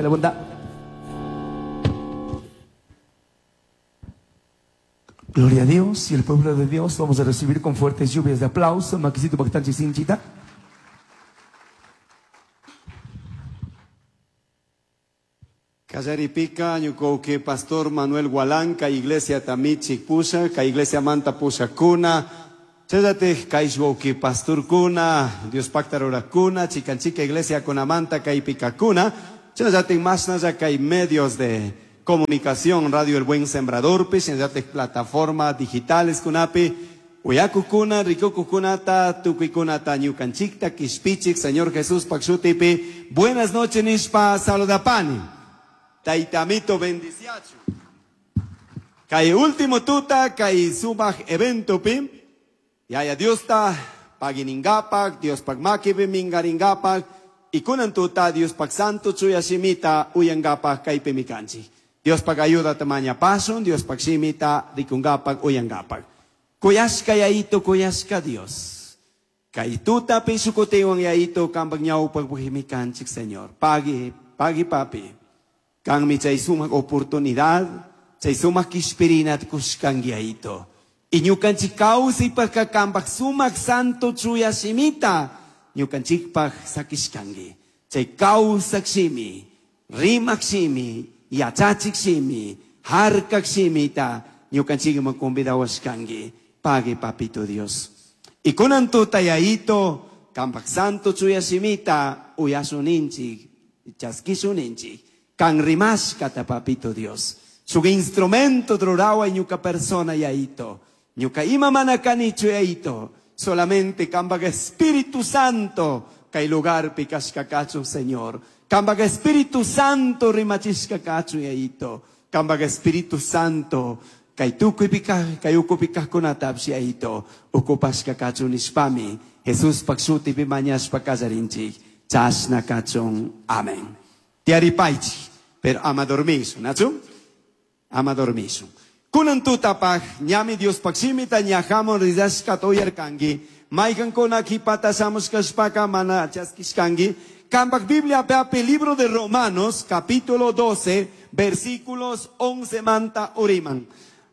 Que la bondad. Gloria a Dios y el pueblo de Dios vamos a recibir con fuertes lluvias de aplauso. Maquisito Bactanchi Sinchita. Kallaripika ñuka pastor Manuel Gualanca iglesia tamichik pusha ka iglesia manta pushakuna chayllatik kay wawki pastorkuna Dios pakta rurakuna chikanchika iglesia kunamanta kaypikakuna chayllatik mashnalla kay medios de comunicación Radio El Buen Sembrador shinallatik plataforma digitales kunapi uyakukuna rikukukunata tukuykunata ñukanchikta kishpichik Señor Jesús pak shutipi buenas noches nishpa saludapani. Taitamito bendiciachu. Kay último tuta kay sumak evento pi. Yaya Diosta paginingapak, Dios pagmakipi mingaringapak, y kunan tuta Dios pag santo chuya shimita uyangapak kay pimikanchi. Dios pag ayuda tamaña pason, Dios pag shimita rikungapak uyangapak. Kuyashka yaito, kuyashka Dios. Kay tuta pisukutiwang yaito kambag ñawpag buhimikanchik, Señor. Pagi, pagi papi. Kang mi chay sumak oportunidad, chay sumak kishpirinat kushkan yaito. Iñukanchik kawsaypaq kambaq sumak santo chuya shimita, ñukanchikpaq sakishkanki. Chay kawsak shimi, rimak shimi, yachachik shimi, harkak shimita, ñukanchikman convidawashkanki. Pague papito Dios. Y kunan tuta yaito, kambaq santo chuya shimita, uyasuninchik, chaskisuninchik. Kan rimashkata papito Dios. Su instrumento drurawa ñuka persona yaito. Ñuka ima mana kanichu yaito. Solamente kambaq Espíritu Santo kay lugar pikashka kachun Señor. Kambaq Espíritu Santo rimachishka kachun yaito. Kambaq Espíritu Santo kay tukuy pika kay uku pikajkunatapsh yaito. Ukupashka kachun nishpami. Jesús pak shutipi mañashpa kallarinchik. Chashna kachun. Amén. Tiaripaichi. Pero ama dormisu, nachu? Ama dormisu. Kunan tutapaj, ñami Dios pakshimita ñajamo rizashka toyarkangi. Maykan kona kipata samushkashpaka mana chaskishkangi. Kampak Biblia peape libro de Romanos, capítulo 12, versículos 11 manta uriman.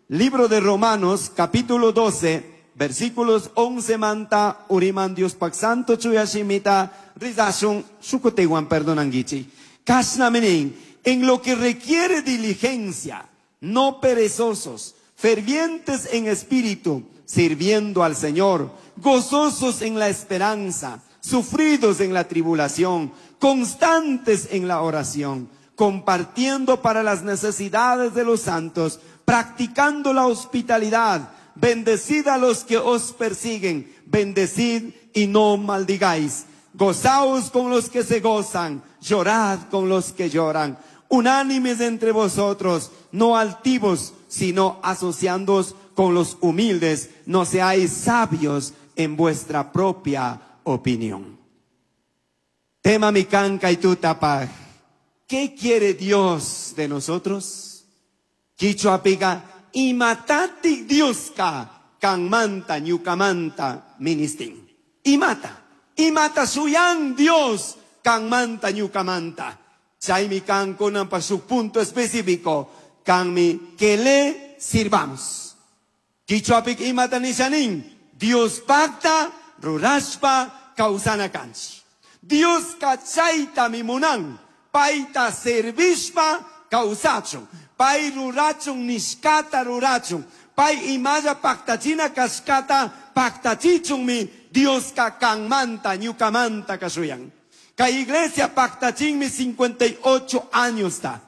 Libro de Romanos, capítulo 12, versículos 11 manta uriman Dios pak santo chuyashimita rizashun shukutewan perdonangichi. Kashnaminin, en lo que requiere diligencia, no perezosos, fervientes en espíritu, sirviendo al Señor, gozosos en la esperanza, sufridos en la tribulación, constantes en la oración, compartiendo para las necesidades de los santos, practicando la hospitalidad. Bendecid a los que os persiguen, bendecid y no maldigáis. Gozaos con los que se gozan, llorad con los que lloran. Unánimes entre vosotros, no altivos, sino asociándoos con los humildes. No seáis sabios en vuestra propia opinión. Tema mi canca y tu tapaj. ¿Qué quiere Dios de nosotros? Quichua pica, imatati Dioska, kanmanta, ñukamanta, ministin. Imata, imata suyan Dios, kanmanta, ñukamanta. Chaymi kan kunan pa su punto específico, kanmi que le sirvamos. Quichuapik imata nishanin, Dios pacta, rurashpa, kausana kanchi. Dios kachayta mimunan, paita servishpa, kausachun. Pai rurachun, nishkata rurachun. Pai imaya pactachina kashkata, pactachichun mi, Dios ka kanmanta, ñukamanta kasuyan. Kay iglesia pactachinmi 58 años ta.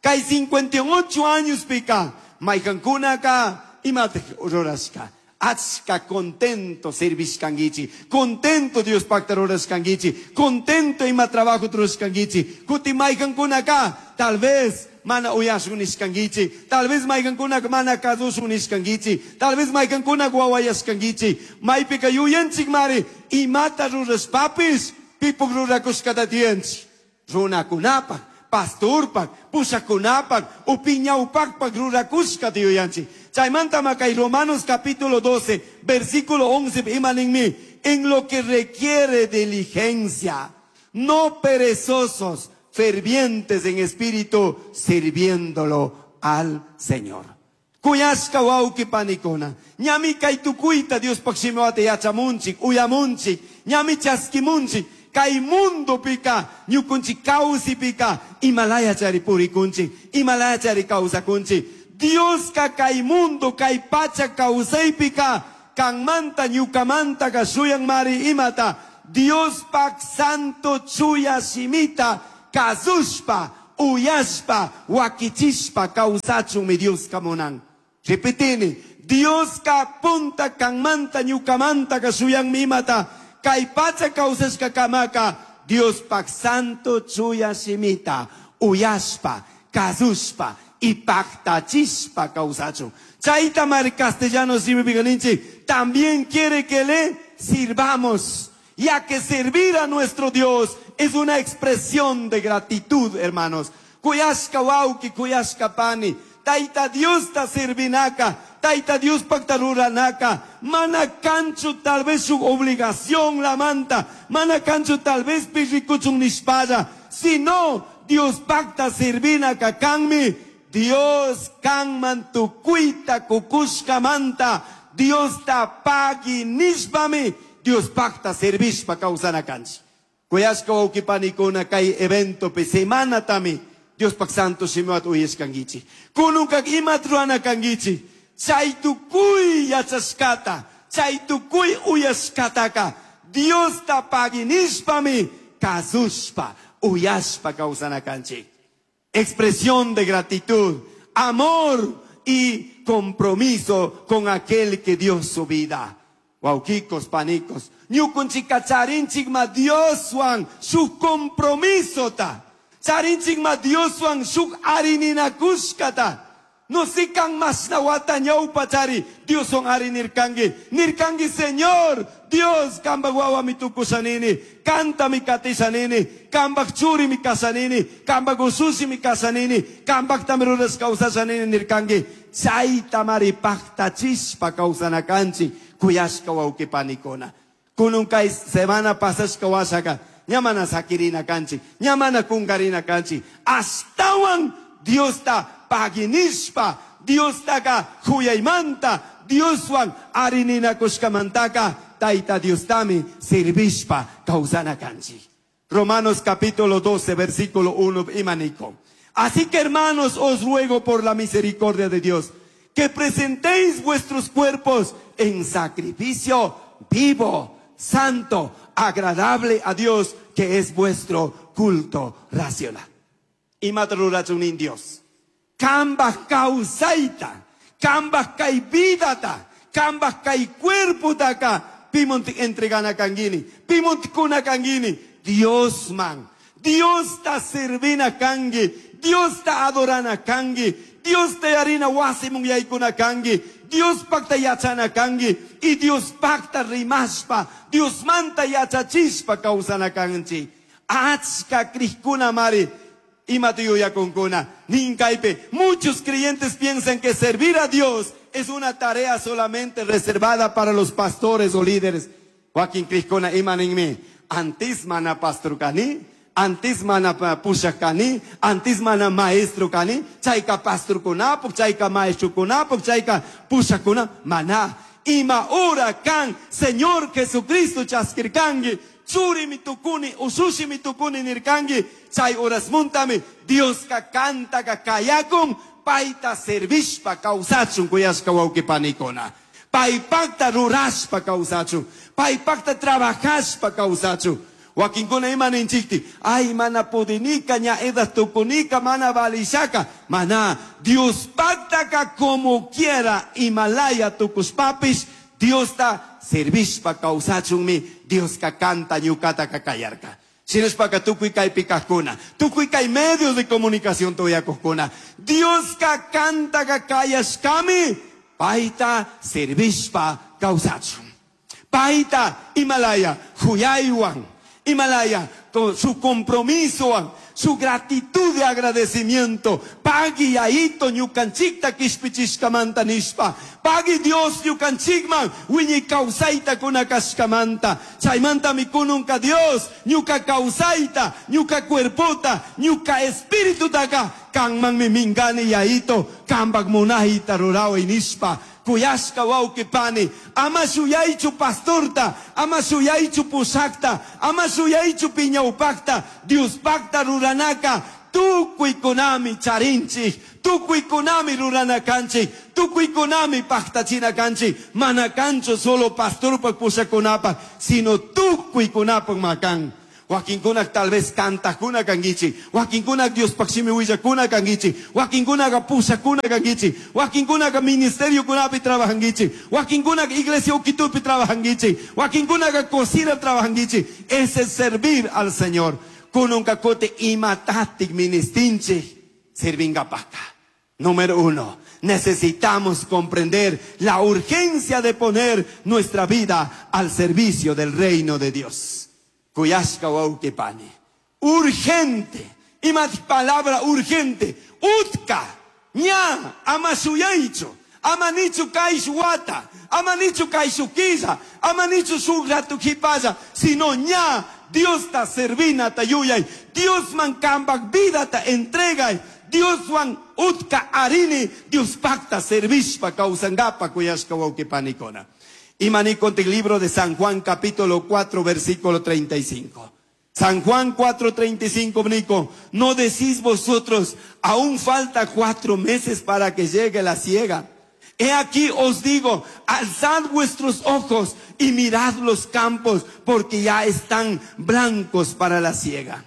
Kay 58 años pika. Maykankuna ka imate rurashka. Achka contento servishkangichi. Contento Dios pacta rurashkangichi. Contento ima trabajo rurashkangichi. Kuti maykankuna ka tal vez mana uyashun nishkangichi. Tal vez maykankuna mana kasushun nishkangichi. Tal vez maykankuna wawayashkangichi. Maypika yuyanchik mari imata rurashpapis. Pipuk rurakushkata tiyanchik. Runakunapak, pastorpak, pushakunapak, upiñawpakpak rurakushkata yuyanchik. Chaymanta makay Romanos capítulo 12, versículo 11, imaninmi, en lo que requiere diligencia, no perezosos, fervientes en espíritu, sirviéndolo al Señor. Kuyashka wawqi panikuna. Ñami kay tukuyta Diospaj shimiwata yachamunchik, uyamunchik, ñami chaskimunchik. Kay mundopika, ñukunchik kawsipika, imalaya chari purikunchik, imalaya chari kawsakunchik. Dioska kay mundo, kay pacha kawsaypika, kanmanta ñukamanta shuyan mari imata, Diospaj santo chuya shimita, kazushpa, uyashpa, wakichishpa kawsachunmi Dioska munan. Repetini, Dioska punta kanmanta ñukamanta shuyanmi imata, kay pacha kawsashka kamaka, Diospaj santo chuya shimita, uyashpa, kazushpa, y pactachishpa kawsachun. Chayta mar castellano shimipica ninchik, también quiere que le sirvamos, ya que servir a nuestro Dios es una expresión de gratitud, hermanos. Kuyashka wawqi, kuyashka pani, Tayta Diosta servinaka, Tayta Diospajta ruranaka, mana kanchu tal vez su obligación la manta, mana kanchu tal vez pirrikuchun nishpalla, sino Diospajta servinaka kanmi, Dios kanman tukuyta kukushka manta, Diosta pagui nishpami, Diospajta servishpa kawsana kanchik. Kuyashka wawqi panikuna kay eventopi semanatami Diospaj santo shimiwata uyashkankichik. Kununka imata rurana kankichik. Chay tukuy yachashkata, chay tukuy uyashkataka, Diosta pagui nishpami kazushpa, uyashpa kawsana kanchik. Expresión de gratitud, amor y compromiso con aquel que dio su vida. Wawqikos, panikos, ñukunchika charinchikma Dioswan shuk compromisota. Charinchikma Dioswan shuk arininakushkata. No sikan mashna wata ñawpa chari Dioswan arinirkanki. Nirkanki, Señor, Dios, kambaj wawami tukushanini, kantami katishanini, kambaj churimi kashanini, kambaj usushimi kashanini, kambajtami rurash kawsashanini nirkanki. Chaytamari paktachishpa kawsana kanchik, kuyashka wawqi panikuna. Kunun kay semana pasashka washaka, ña mana sakirina kanchik, ña mana kunkarina kanchik. Ashtawan Diosta paginishpa, Diostaka huyaymanta, Dioswan arininakushkamantaka, Tayta Diostami servishpa kawsana kanchik. Romanos capítulo 12, versículo 1, imaniko. Así que hermanos, os ruego por la misericordia de Dios, que presentéis vuestros cuerpos en sacrificio vivo, santo, agradable a Dios, que es vuestro culto racional. Imata rurachun nin Dios. Kambaj kawsayta, kambaj kay vidata, kambaj kay cuerpotaka, pimonti entregana kangini, pimonti kuna kangini, Dios man. Dios ta servina kangi, Dios ta adorana kangi, Dios ta yarina wasimun yaykuna kangi, Dios pacta yachana kangi, y Dios pacta rimashpa, Dios manta yachachishpa kawsana kanchi. Achka krishkuna mari, imata yuyakunkuna, ninkaype. Muchos creyentes piensan que servir a Dios es una tarea solamente reservada para los pastores o líderes. Wakin krishkuna ima ninmi, antes mana pastor kani, antes mana pushak kani, antes mana maestro kani, chayka pastor kunapuk, chayka maestro kunapuk, chayka pushak kuna, mana. Ima ora kan, Señor Jesucristo chaskirkangi, churi mi tukuni, usushi mi tukuni nirkangi, chay horas muntami, Dios ka kanta ka kayakun, payta servishpa kawsachun kuyashka wawqi panikuna. Paypakta rurashpa kawsachun, paypakta trabajashpa kawsachun. Wakinkuna ima ninchikti, ay mana pudinika, ña edas tukunika, mana valishaka, mana Dios pactaka como quiera, Himalaya tukuspapis, Dios ta servishpa kawsachunmi, Dios ka kanta ñukata ka kayarka. Shinashpaka tukuy kaypi kajkuna, tukuy kay medios de comunicación tuyakujkuna, Dios ka kanta ka kayashkami, payta servishpa kawsachun. Payta Himalaya, huyaywan, Himalaya, Su compromiso, su gratitud de agradecimiento. Pagui yaito ñukanchikta kishpichishkamanta nishpa. Pagui Dios ñukanchikman wiñay kawsayta kunakashkamanta. Chaymantami kununka Dios ñuka kawsayta, ñuka cuerpota, ñuka espiritutaka kanmanmi mingani yaito kambak munayta ruraway nishpa. Kuyashka wawqi pani, ama shuyaychu pastorta, ama shuyaychu pushakta, ama shuyaychu piñawpakta, Diospakta ruranaka, tukuykunami charinchik, tukuykunami rurana kanchik, tukuykunami paktachina kanchik, mana kanchu solo pastorpak pushakunapak, sino tukuykunapak makan. Wakinkunak tal vez kantakuna kankichik, wakinkunak Diospaq shimi willakuna kankichik, wakinkunaka pushakuna kankichik, wakinkunaka ministeriokunapi trabajankichik, wakinkunaka iglesia ukitupi trabajankichik, wakinkunaka cocina trabajankichik. Ese es servir al Señor. Kununka kuti imatatik ministinchik sirvingapaka. Número 1, necesitamos comprender la urgencia de poner nuestra vida al servicio del reino de Dios. Kuyashka wawqi pani. Urgente. Ima palabra urgente. Utka. Ña. Ama shuyaychu. Ama nichu kayshu wata. Ama nichu kayshu killa. Ama nichu shuk ratu jipalla. Sino ña. Diosta servinata yuyay. Diosman kambak vidata entregay. Dioswan utka arini. Dios pacta servishpa kawsangapa kuyashka wawqi panikuna. Imani conte el libro de San Juan capítulo 4 versículo 35. San Juan 4, 35, Nico, no decís vosotros, aún falta 4 meses para que llegue la siega. He aquí os digo, alzad vuestros ojos y mirad los campos, porque ya están blancos para la siega.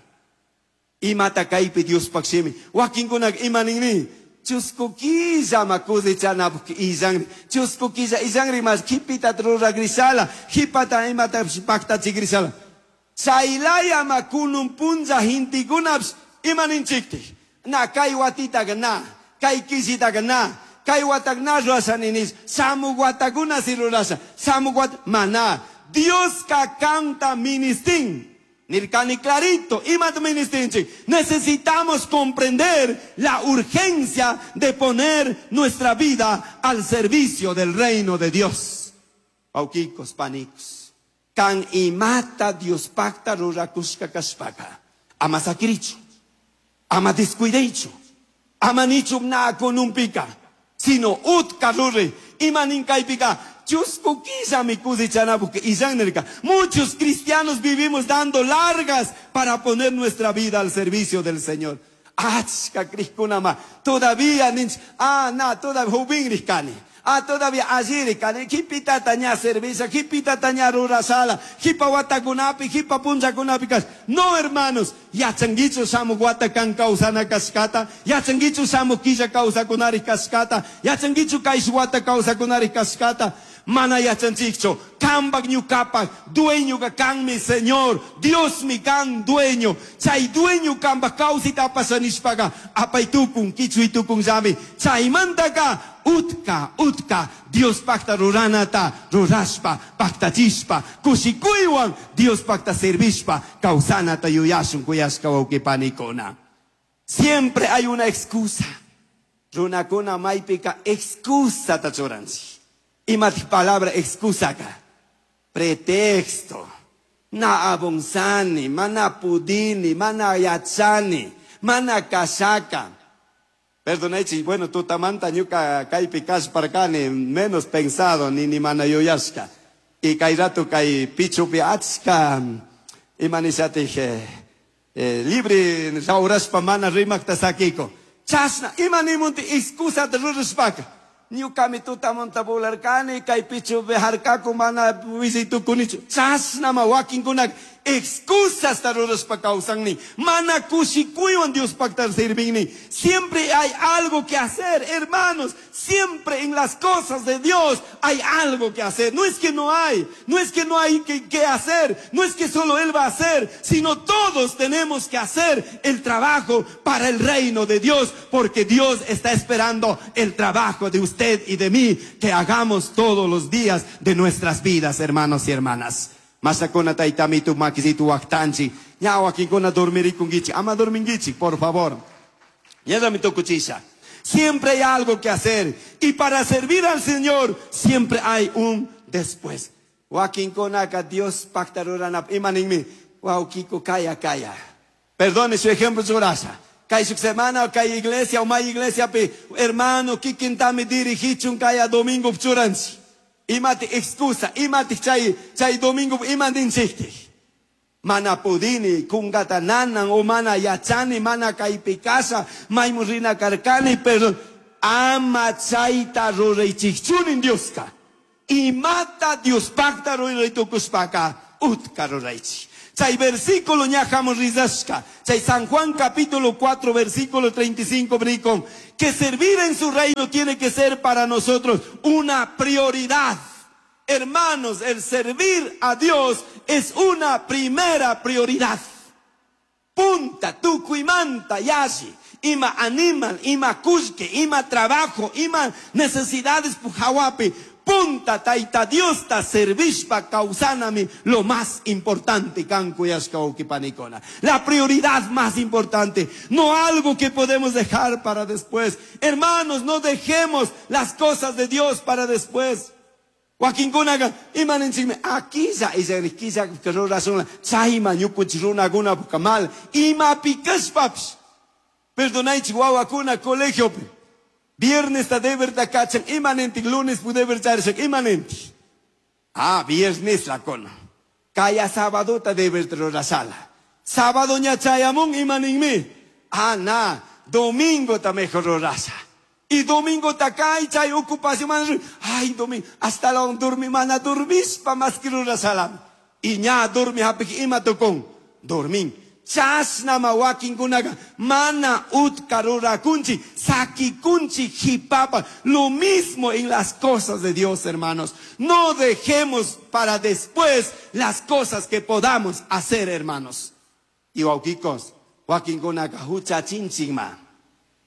Imata kaypi Diospaq shimi. Wakinkunak imaninmi. Chusku killa ma cosechanapaq illanri. Chusku killa illanri mas jipita ruragrishala, jipata imata pactachigrishala. Chaylaya ma kunun punlla hintikunaps imaninchiktik. Na kay watitaqa na, kay killitaqa na, kay watak na rurasha ninis, shamuq watakuna si rurasha, shamuq wat mana. Dios ka kanta ministin. Nirkani clarito, imat ministinchik. Necesitamos comprender la urgencia de poner nuestra vida al servicio del reino de Dios. Pauquicos, panicos. Kan imata Dios pacta rurakushka kashpaka. Ama sakirichu, ama descuideichu, ama nichu na konumpika, sino utka rure, imaninkaipika. Chusku killa mi cosechanapuk illannerka. Muchos cristianos vivimos dando largas para poner nuestra vida al servicio del Señor. Achka criskunama. Todavía ninch, ah, na, todavía jubin riskani. Ah, todavía allí riskani. Jipita taña servicio, jipita taña rurasala, jipa watakunapi, jipa punchakunapi kas. No, hermanos, yachanguichu shamu watakan kausana kaskata, yachanguichu shamu killa kausakunari kaskata, yachanguichu kaish wata kausakunari kaskata. Mana yachanchikchu, kambak ñukapak, dueño ka kan mi Señor, Dios mi kan dueño. Chay dueño kambak kausita pasanishpaka, apaytukun, kichuytukun llami. Chaymantaka, utka, utka, Dios pacta ruranata, rurashpa, pactachishpa, kushikuywan, Dios pacta servishpa, kawsanata yuyashun kuyashka wawqipanikuna. Siempre hay una excusa. Runakuna maypika excusa tachuranchik. Ima palabra excusa acá. Pretexto. Na abonzani, mana pudini, mana yachani, mana kashaka. Perdonechi, bueno, tutamanta ñuka kaypi kashparkani, menos pensado, ni mana yuyashka. Y kay rato kay pichupi achka, imanishatij, libre raurashpa mana rimakta sakiko. Chashna, imanimunti excusa rurashpaka. Ñukami tutamunta volarkani, kay pichupi harkaku mana wisaytukunichu. Chashnama wakinkunak excusas rurashpa kawsanni. Mana kushikuywan Diospakta sirvinni. Siempre hay algo que hacer, hermanos. Siempre en las cosas de Dios hay algo que hacer. No es que no hay, no es que no hay que hacer, no es que solo Él va a hacer, sino todos tenemos que hacer el trabajo para el reino de Dios, porque Dios está esperando el trabajo de usted y de mí, que hagamos todos los días de nuestras vidas, hermanos y hermanas. Masakuna taytamitu makisitu waqtanchi, Ña wakinkuna dormirikunkichik, ama dorminkichik, por favor. Ñallami tukuchisha. Siempre hay algo que hacer. Y para servir al Señor, siempre hay un después. Wakinkunaka Dios pacta ruranap imaninmi. Wawkiko kaya kaya. Perdone su ejemplo churasha. Kay shuk semana kay iglesia o may iglesia pi hermano kikintami dirigichun kaya domingo churanchi. Imati excusa, imati chay chay domingo imandinchikti. Mana pudini, kungata nanan o mana yachani, mana kaypi kasha, maymu rina karkani, perdón. Ama chayta ruraychikchunin Dioska. Imata Dios pacta ruraytukushpaka utka ruraychik. Chay versículo ñajamos rizashka. Chay San Juan capítulo 4 versículo 35 bricon. Que servir en su reino tiene que ser para nosotros una prioridad. Hermanos, el servir a Dios es una primera prioridad. Punta, tukuimanta, yashi. Ima animal, ima kushke, ima trabajo, ima necesidades pujawapi. Punta taita Dios ta servishpa causanami lo más importante kanku yashka ukipanikona. La prioridad más importante, no algo que podemos dejar para después. Hermanos, no dejemos las cosas de Dios para después. Wakinkunaqa imaninchikmi akilla isharikilla rurashun chayman ñukunchik runakuna mal imapi kashpapish. Perdonaychik wawakuna colegiopi. Viernes ta deber ta kachan imanentik lunes pu deber charishak imanentik. Ah, viernes la kona. Kaya sábado ta deber rurashala. Sábado ña chayamun imaninmi. Ah, na, domingo ta mejor rurasha. Y domingo ta kay chay ocupación man. Ay, domingo, hasta la dormi mana dormispa más que rurashala. Y ña dormi hapik ima tokon. Dormin. Chashnama wakinkunaqa mana utka rurakunchi, sakikunchi jipapa. Lo mismo en las cosas de Dios, hermanos. No dejemos para después las cosas que podamos hacer, hermanos. Y wawkikos, wakinkunaqa huchachinchikma.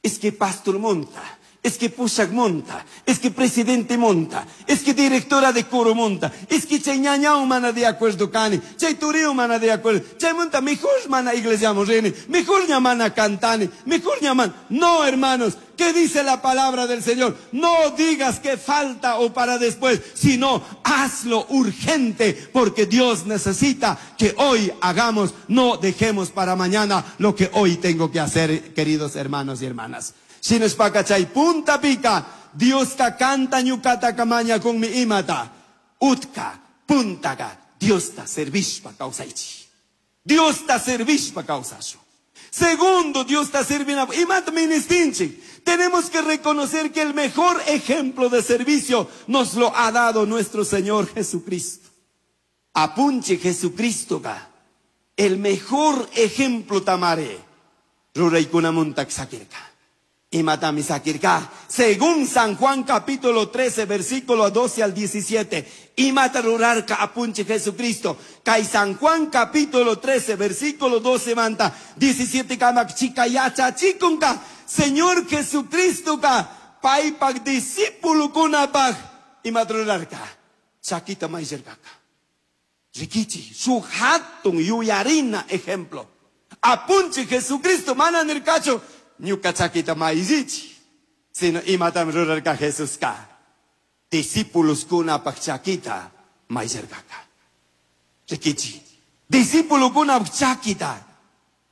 Es que pastor monta, es que pushak monta, es que presidente monta, es que directora de coro monta, es que chay ñañao mana de acuerdo cani, chay tureo mana de acuerdo, chay monta mejor mana iglesia morreni, mejor ñamana cantani, mejor ñaman. No, hermanos, ¿qué dice la palabra del Señor? No digas que falta o para después, sino hazlo urgente, porque Dios necesita que hoy hagamos, no dejemos para mañana lo que hoy tengo que hacer, queridos hermanos y hermanas. Shinashpaka chay punta pica, Dios ka canta ñukata kamaña con mi imata. Utka, puntaga, Dios ta servishpa causaichi. Dios ta servishpa causashu. Segundo, Dios ta sirviendo. Imata ministinchi. Tenemos que reconocer que el mejor ejemplo de servicio nos lo ha dado nuestro Señor Jesucristo. Apunche Jesucristo ka. El mejor ejemplo tamare. Ruraykunamuntak sakirka. Imatami sakirka. Según San Juan capítulo 13, versículo 12 al 17. Imata rurarka apunche Jesucristo. Kai San Juan capítulo 13, versículo 12 manta. 17 kamak chica yacha chikunka. Señor Jesucristo ka. Paipak discípulo kunapaj. Imata rurarka. Chakita maizerkaka. Rikichi, su hatun yuyarina ejemplo. Apunche Jesucristo, mana nirkacho. Ñuka chakita maizichi, sino imatam rurarka Jesús ka. Discípulos kuna pak chakita maizerkaka. Rikichi. Discípulo kuna chakita.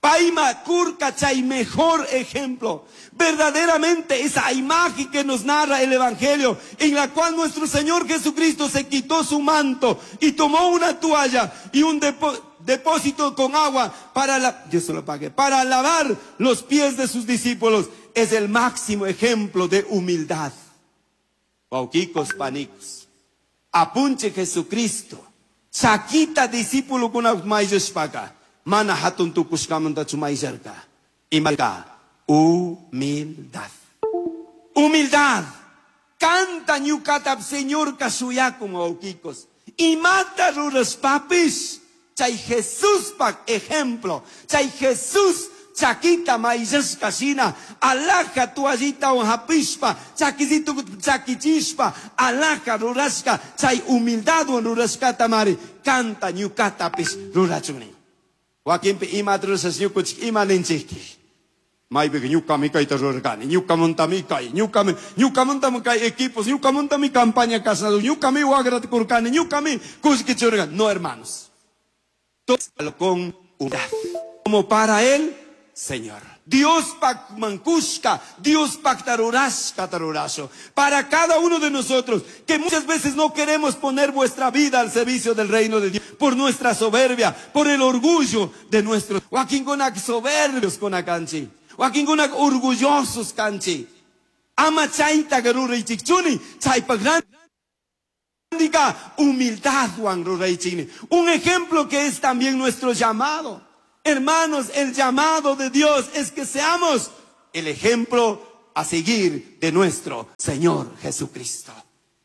Paima kurka chay mejor ejemplo. Verdaderamente esa imagen que nos narra el Evangelio, en la cual nuestro Señor Jesucristo se quitó su manto y tomó una toalla y un depósito con agua para la, Dios se lo pague, para lavar los pies de sus discípulos, es el máximo ejemplo de humildad. Wauquicos panicos. Apunche Jesucristo. Chaquita discípulo con maizespaka. Mana hatun tukushkamanta chumaizerka. Imalka. Humildad. Humildad. Canta ñukatap Señor kasuyakum wauquicos. Y mata ruras papis. Chay Jesús pak ejemplo. Chay Jesús chakita maizashka shina. Alaja tuallita hapishpa. Chakizito chakichishpa. Alaja rurashka. Chay humildad rurashka tamari. Canta ñukatapis rurachuni. Wakinpi imata rurashas ñukunchik ima ninchiktik. Maypiqa ñuqami kayta rurarkani, ñuqamantami kay, ñuqami, ñuqamantami kay equipos, ñuqamantami campaña kasnado, ñuqami wagrata kurkani, ñuqami kullki churarkani. No, hermanos. Todo con humildad, como para el Señor. Dios mancushka, Dios pactarurashka tarurasho. Para cada uno de nosotros, que muchas veces no queremos poner vuestra vida al servicio del reino de Dios, por nuestra soberbia, por el orgullo de nuestros. Wakinkunak soberbios kunakanchi, wakinkunak orgullosos kanchi. Ama chayta ruraychikchuni, chaypa grandika humildad wan ruraychikni. Un ejemplo que es también nuestro llamado. Hermanos, el llamado de Dios es que seamos el ejemplo a seguir de nuestro Señor Jesucristo.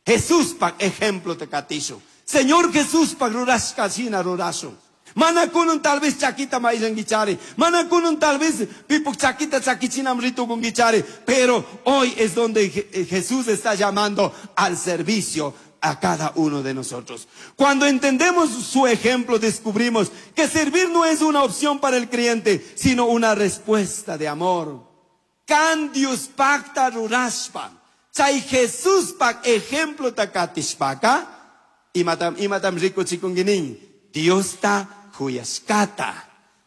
Jesús pa ejemplo te katisho. Señor Jesús pa rurashka shina rurasho. Mana kunun tal vez chaquita maillanguichari. Mana kunun tal vez pipuk chaquita chaquichinam ritukunguichari. Pero hoy es donde Jesús está llamando al servicio a cada uno de nosotros. Cuando entendemos su ejemplo, descubrimos que servir no es una opción para el creyente, sino una respuesta de amor. Kan Dios pacta rurashpa. Chay Jesús pak ejemplo takatishpaka. Imatam, imatam rico chikunguinin. Dios ta huyashkata.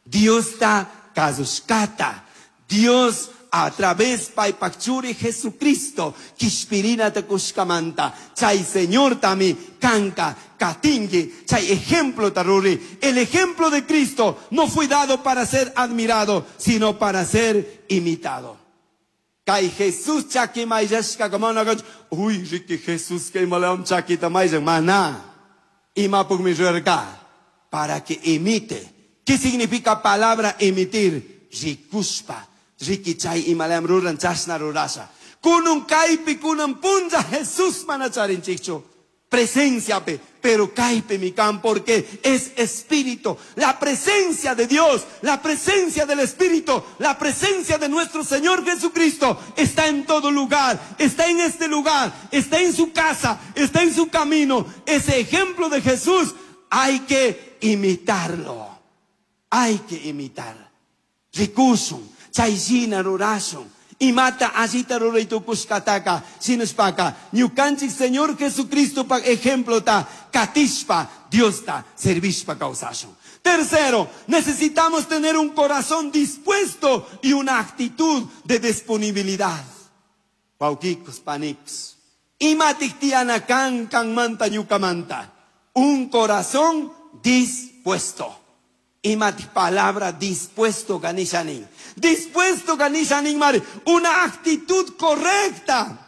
Dios ta kazushkata. Dios a través paypakchuri Jesucristo kishpirina takushkamanta chay Señor tami kanka katingi chay ejemplo taruri. El ejemplo de Cristo no fue dado para ser admirado, sino para ser imitado. Kay Jesús chaki mayashka como no uy riki Jesús que malam chakita mayan mana imapuk mi ruerka para que imite. ¿Qué significa palabra emitir? Rikuspa. Riki chay imalam ruran chasna rurasha. Kunun kaypi kunan punlla Jesús manacharinchikchu. Presencia pe, pero kaypi mi can porque es espíritu. La presencia de Dios, la presencia del Espíritu, la presencia de nuestro Señor Jesucristo está en todo lugar, está en este lugar, está en su casa, está en su camino. Ese ejemplo de Jesús hay que imitarlo. Hay que imitar. Rikusun. Chayshina rurashun. Imata allita ruraytukushkataka sinushpaka ñukanchik Señor Jesucristo pa ejemplo ta katishpa Diosta servishpa kawsashun. Tercero, necesitamos tener un corazón dispuesto y una actitud de disponibilidad. Wawkikos, panikos. Imatik tiana kan kan manta ñukamanta. Un corazón dispuesto. Imatik palabra dispuestoganishanin. Dispuestoganishanin mare, una actitud correcta.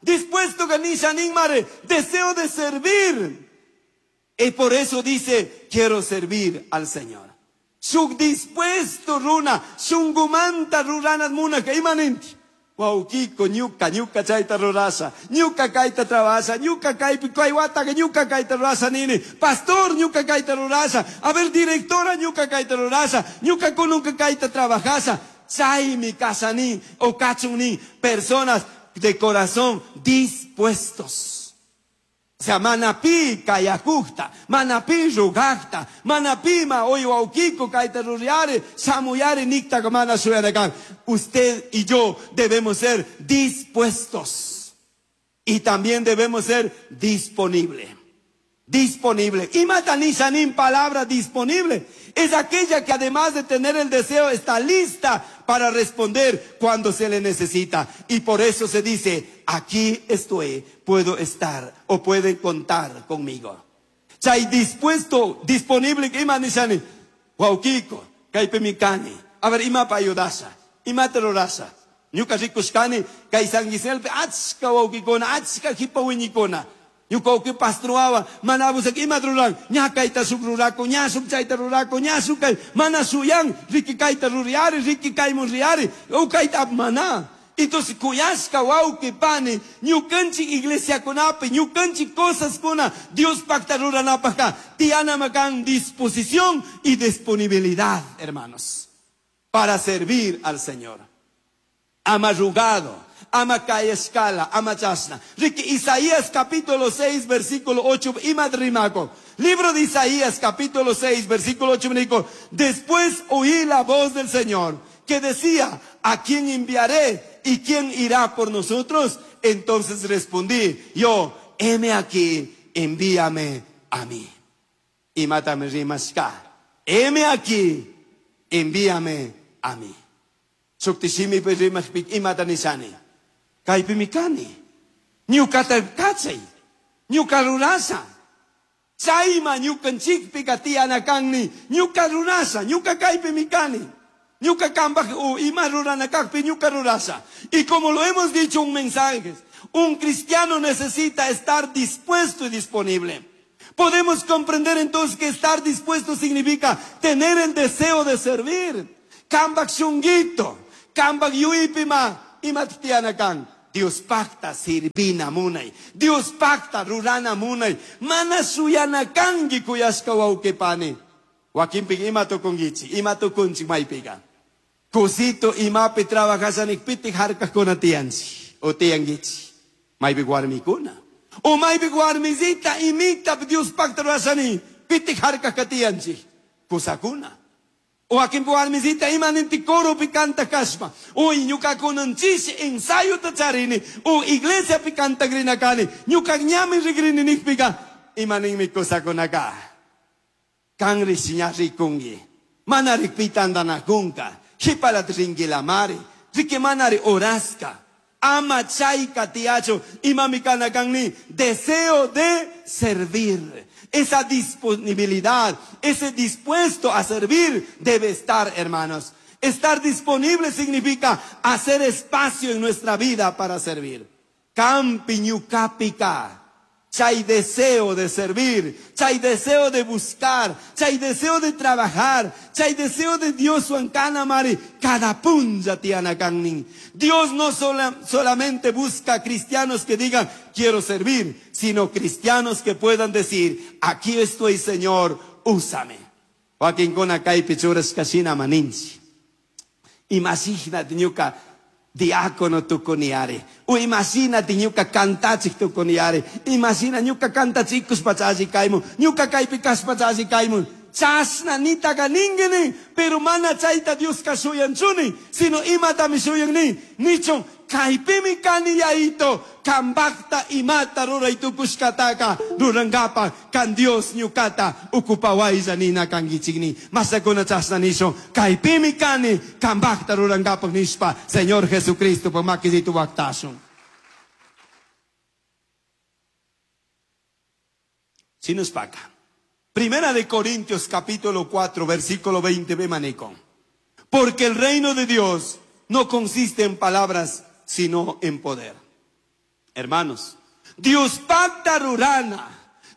Dispuestoganishanin mare, deseo de servir. Y por eso dice, quiero servir al Señor. Shuk dispuesto runa, shungumanta ruranat muna que imaninti. Wawkiko, ñuka, ñuka chayta rurasha, ñuka kayta trabasha, ñuka kaypi kaywata, ñuka kayta rurasha nini, pastor ñuka kayta rurasha, a ver directora ñuka kayta rurasha, ñuka kununka kayta trabajasha, chaymi kasani o kachuni, personas de corazón dispuestos. O sea, manapi kayakukta, manapi rugakta, manapi ma oy wawkiko kayta ruriare, samuyare nikta mana suyanakan. Usted y yo debemos ser dispuestos. Y también debemos ser disponible. Disponible. Y matanishanin, palabra disponible. Es aquella que además de tener el deseo está lista para responder cuando se le necesita. Y por eso se dice, aquí estoy, puedo estar o pueden contar conmigo. Chay dispuesto, disponible, imanishani, wawkiko, kaypi mikani. A ver, ima pa ayudasha, ima terrorasha. Ñuka rikushkani, kay San Giselpe, achka wawkikuna, achka hipa wiñikuna. Ñuka wawki pastroawa, mana abusak ima ruran, ña kayta suk rurako, ña suk chayta rurako, ña suk kay, mana suyan, riki kayta ruriari, riki kaymun riari, u kayta mana. Entonces, kuyashka wawki pani, ñukanchik iglesiakunapi, ñukanchik cosas kuna, Dios pacta ruranapajka, tiana makan disposición y disponibilidad, hermanos, para servir al Señor. Ama rugado, ama escala, ama chasna. Riki Isaías capítulo 6, versículo 8, imadrimaco. Libro de Isaías capítulo 6, versículo 8, me después oí la voz del Señor que decía, ¿a quién enviaré y quién irá por nosotros? Entonces respondí, yo, heme aquí, envíame a mí. Y mátame rimashka. Heme aquí, envíame a mí. Suktishimi rimashpik imata nishani. Kaypimi kani. Ñukata kachay. Ñuka rurasha. Chayma ñukanchikpika tiyana kanni. Ñuka rurasha. Ñuka kaypimi kani. Ñuka kambaj ima rurana kajpi ñuka rurasha. Y como lo hemos dicho en mensajes, un cristiano necesita estar dispuesto y disponible. Podemos comprender entonces que estar dispuesto significa tener el deseo de servir. Kambak shunguito, kambak yuipima, imattianakan. Dios pacta sirvina munay. Dios pacta rurana munay. Mana suyana kangi kuyashka wauqipani. Wakinpik ima tukunkichik, ima tukunchik maypiqa. Kusito imapi trabajasanikpitik harkakuna tiyanchik o tiyankichik. Maypi warmikuna. O maypi warmisita imita Dios pacta rurashani pitik harkaka tiyanchik. Kusakuna. O wakinpi warmisita ima ninti coropi kanta kashpa. O ñukakunanchish ensayota charini. O iglesiapi kantakrina kani. Ñuka ñami rikrini nikpika. Ima ninmi kusakunaka. Kanri ña rikunki. Mana rikpita andanakunka. Jipalat rinkilamari. Riki manari oraska. Ama chayka tiacho. Imami kana kanni. Deseo de servir. Esa disponibilidad, ese dispuesto a servir debe estar, hermanos. Estar disponible significa hacer espacio en nuestra vida para servir. Kampi ñukapika. Chay deseo de servir, chay deseo de buscar, chay deseo de trabajar, chay deseo de Dios mari, cada punja tiana kannin. Dios no solamente busca cristianos que digan quiero servir, sino cristianos que puedan decir aquí estoy, Señor, úsame. Wakinkuna kaypi churashkashina maninchi. Imagínate ñuka diácono tukuniare. O imagínate ñuka kantachik tukuniare. Imagina ñuka kantachikus pachachi kaymun. Ñuka kaypi kaspachachi kaymun. Chasna nitaka ningini. Pero mana chayta Dios shuyanchuni. Sino imatami shuyan Nichon kaypimi kani yaito. Kambakta imata ruray tukushkataka. Rurangapa kan Dios ñukata ukupawaylla nina kankichikni. Masakuna chasna nishon. Kaypimi kani kambakta rurangapa nishpa. Señor Jesucristo pa makisitu waktashun. Sinuspaka. Primera de Corintios capítulo 4 versículo 20 ve maneco. Porque el reino de Dios no consiste en palabras, sino en poder. Hermanos, Dios pacta rurana,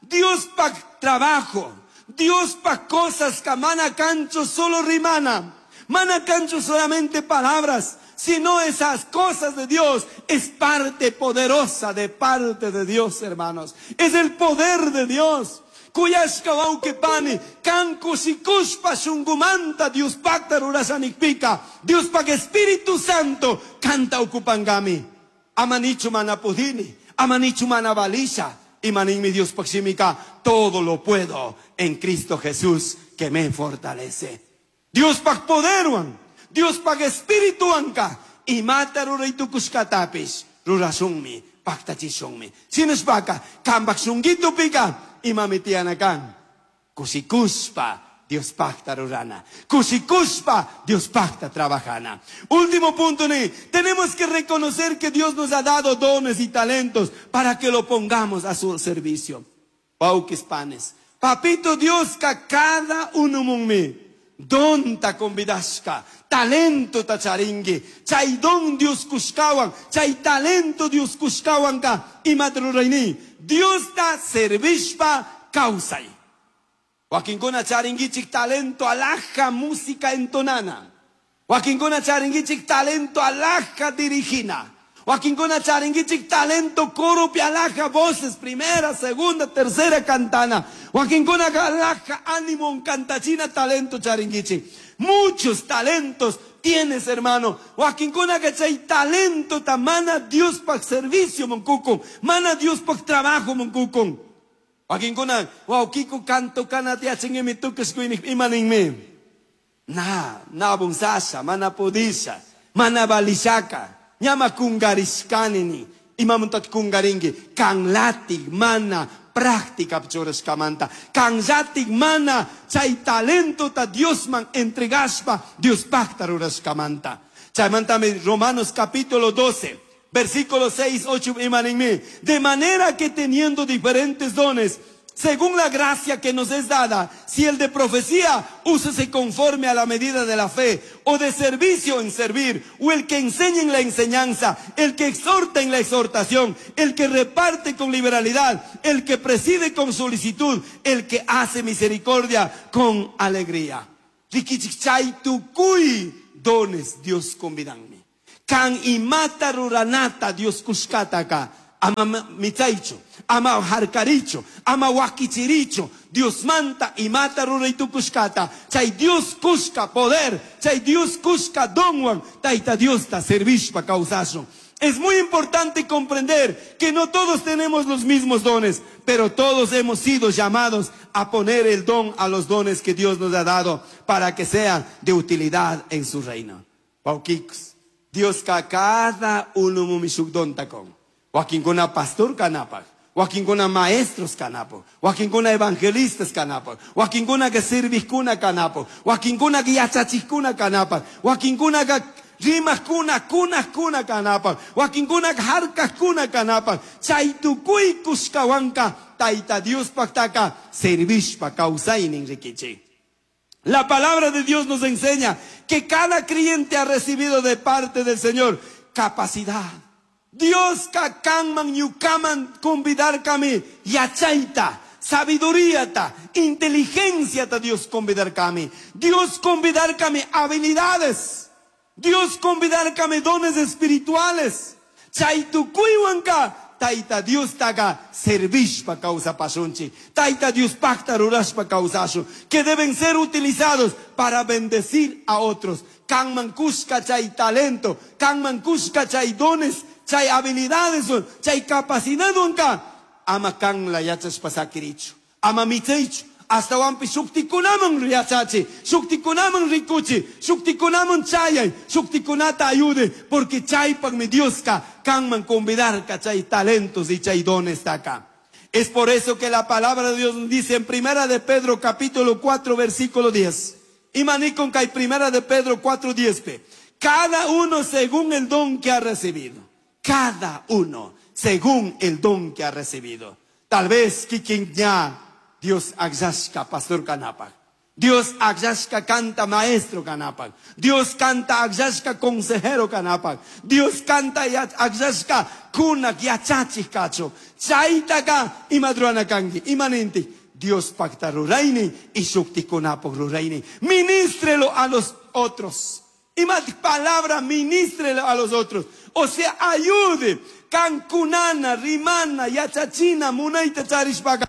Dios pacta trabajo, Dios pacta cosas que mana cancho solo rimana, mana cancho solamente palabras, sino esas cosas de Dios es parte poderosa de parte de Dios, hermanos. Es el poder de Dios. Kuyashka wawqipani, kan kushikushpa shungumanta Dios pacta rurashanikpika, Dios pak Espíritu Santo kanta ukupangami. Amanichu mana pudini, amanichu mana balisha, imaninmi Dios pak shimika, todo lo puedo en Cristo Jesús que me fortalece. Dios pak poderwan, Dios pak Espíritu anka, imata ruraytukushkatapis, rurashunmi, paktachishunmi. Sinushpaka, kambak shunguito pika, imami tianakan. Kusikuspa, Dios pacta rurana. Kusikuspa, Dios pacta trabajana. Último punto, ni. Tenemos que reconocer que Dios nos ha dado dones y talentos para que lo pongamos a su servicio. Pauquis panes. Papito Dios, ka cada uno munmi. Don ta convidashka, talento ta charingi, chay don Dios kushkawan, chay talento Dios kushkawan ka, imatruraini, Dios ta servishpa kausay. Wakinkuna charingichik talento alhaja música entonana. Wakinkuna charingichik talento alhaja dirigina. Wakinkuna charingichik talento coro alhaja voces, primera, segunda, tercera cantana. Wakinkuna alhaja ánimo cantachina talento charingichik. Muchos talentos tienes, hermano. Wakinkunaka chay talentota mana Diospaj servicio munkukun, mana Diospaj trabajo munkukun. Wakinkuna, wawkiku canto kanata yachanguimi tukushkuynik imaninmi. Na, na bunsasha, mana pudisha, mana balishaka, ñama kungarishkanini. Imamuntat kungarinki, kanlatik mana práctica churashkamanta. Kanllatik mana chay talentota Diosman entregashpa Diospajta rurashkamanta. Chaymantami Romanos capítulo 12, versículo 6, 8 imaninmi. De manera que teniendo diferentes dones, según la gracia que nos es dada, si el de profecía, úsese conforme a la medida de la fe, o de servicio en servir, o el que enseña en la enseñanza, el que exhorta en la exhortación, el que reparte con liberalidad, el que preside con solicitud, el que hace misericordia con alegría. Rikichik tukuy dones Dios convidanmi. Kan imata ruranata Dios kushkataka. Ama mitzaicho, ama harkaricho, ama wakichiricho, Dios manta y mata ruraitukushkata. Chay Dios kushka poder, chay Dios kushka donwan, taita Dios ta servishpa causashon. Es muy importante comprender que no todos tenemos los mismos dones, pero todos hemos sido llamados a poner el don a los dones que Dios nos ha dado para que sean de utilidad en su reino. Pauquiks, Dios ka cada uno mumishuk don takon. Wakinkuna pastor kanapaj, wakinkuna maestros kanapaj, wakinkuna evangelistas kanapaj, wakinkuna que servijkuna kanapaj, wakinkuna que yachachijkuna kanapaj, wakinkuna que rimajkuna, kunajkuna kanapaj, wakinkuna que harkajkuna kanapaj, chay tukuy kushkawanka Tayta Diospajtaka servishpa kawsaynin rikichik. La palabra de Dios nos enseña que cada creyente ha recibido de parte del Señor capacidad. Dios ka kanman ñukaman convidarkami yachayta, sabiduría ta, inteligencia ta Dios convidarkami. Dios convidarkami habilidades. Dios convidarkami dones espirituales. Chay tukuywanka Tayta Dios taga servishpa kawsapashunchik. Tayta Dios pacta rurashpa kawsashun. Que deben ser utilizados para bendecir a otros. Kanman kushka chay talento, kanman kushka chay dones, chay habilidades, chay capacidad unka. Ama kan la yachashpa sakirichu. Ama mitzeichu. Hasta wampi shuktikunaman yachachi, shuktikunaman rikuchi, shuktikunaman chayay, shuktikunata ayude, porque chaypagmi Dioska kanman convidarka chay talentos y chay dones acá. Es por eso que la palabra de Dios nos dice en Primera de Pedro capítulo 4 versículo 10. Imanikon kay Primera de Pedro 4, 10 pe. Cada uno según el don que ha recibido. Cada uno según el don que ha recibido. Tal vez kikin ya Dios akllashka pastor kanapaj. Dios akllashka canta maestro kanapaj. Dios canta akllashka consejero kanapaj. Dios canta akllashka kunak yachachik kacho. Chaytaka imadruana kanki, imanenti. Dios pacta rurayni y shuktikunapaj rurayni. Ministrelo a los otros. Y más palabra, ministrelo a los otros. O sea, ayude. Kankunana, rimana, yachachina, munayta charishpaka.